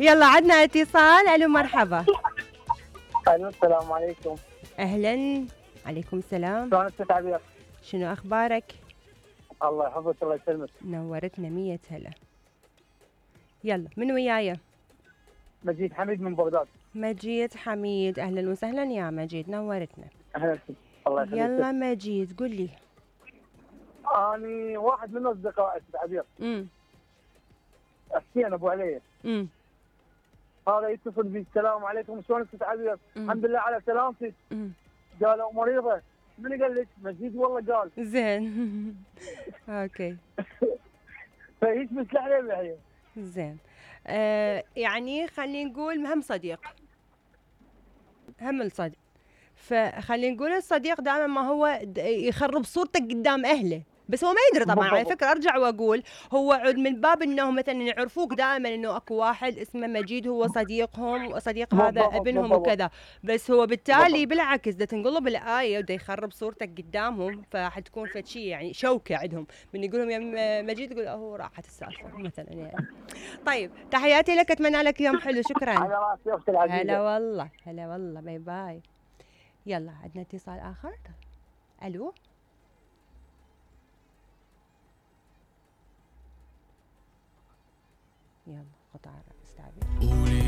يلا عدنا اتصال. الو مرحبا. الو السلام عليكم. اهلا. عليكم السلام. شلونك ست عبير؟ شنو اخبارك؟ الله يحفظك الله يسلمك. نورتنا 100 هلا. يلا من وياي؟ مجيد حميد من بغداد. مجيد حميد، اهلا وسهلا يا مجيد، نورتنا. اهلا فيك الله يخليك. يلا مجيد قل لي. اني واحد من اصدقائي ست عبير. حسين ابو علي. هذا يتصل بي السلام عليكم شلونك ست عبير؟ الحمد لله على سلامتك. قالوا مريضه. من قال لك؟ مجيد والله قال. زين. اوكي. فايش مسلح لي بحيه؟ زين. يعني خلينا نقول هم صديق. هم الصديق. فخلينا نقول الصديق دائما ما هو يخرب صورتك قدام اهله، بس هو ما يدري طبعا. على فكره ارجع واقول هو عود من باب انه مثلا يعرفوك دائما انه اكو واحد اسمه مجيد هو صديقهم وصديق هذا ابنهم وكذا، بس هو بالتالي بالعكس دا تنقلب الايه ودا يخرب صورتك قدامهم، فحتكون فد شيء يعني شوكه عندهم من يقولهم يا مجيد تقول هو راحت السالفه مثلا يعني. طيب تحياتي لك، اتمنى لك يوم حلو. شكرا. على راسي اختي العزيزه. هلا والله هلا والله، باي باي. يلا عندنا اتصال اخر. الو. يلا قطع استعبي.